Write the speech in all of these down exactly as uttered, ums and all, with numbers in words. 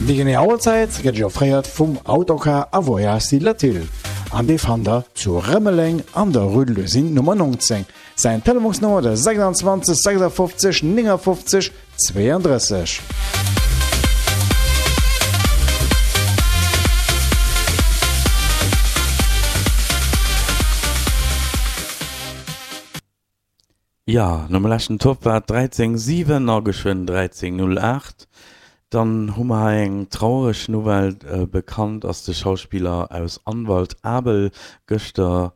Déi genee Auerzäit gëtt iech offréiert vum Autocar a Voyages Latil an dee fannt der zu Rëmeleng an der Rue de l'Usine Nummer neunzéng. Säin Telefonsnummer de sechsundzwanzeg sechsundfünfzig neunundfünfzig zweiunddrësseg. Jo, nom leschten Topp war et dräizéng siwen a geschwënn dräizéng null aacht. Dann hu mer hei eng traureg Nouvelle. Bekannt ass de Schauspiller aus Anwalt Abel. Gëschter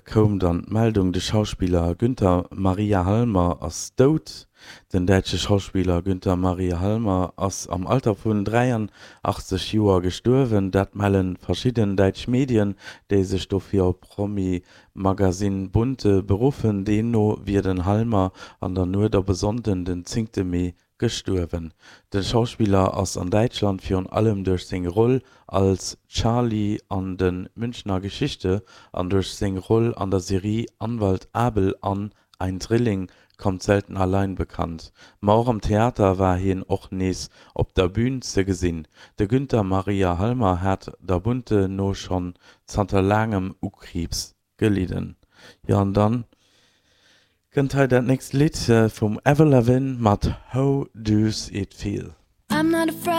koum dann d'Meldung, de Schauspiller Günther Maria Halmer ass dout. Den däitsche Schauspiller Günther Maria Halmer ass am Alter vun dräianachtzeg Joer gestuerwen. Dat melle verschidden däitsch Medien, déi sech dofir op Promi-Magasinn Bunte beruffen. Deemno wier den Halmer an der Nuet op e Sonnden, den zéngte Mee, gestuerwen. De Schauspiller ass an Däitschland virun allem duerch seng Roll als Charly an de Münchner Geschichte an duerch seng Roll an der Serie Anwalt Abel an Ein Drilling kommt selten allein bekannt. Ma och am Theater war hien och nees op der Bün ze gesinn. De Günther Maria Halmer hat der Bunte no schonn zanter laangem u Kriibs gelidden. Jo an dann kënnt hei dat nächst Lidd vum Avril Lavigne mat How Does It Feel. I'm not afraid.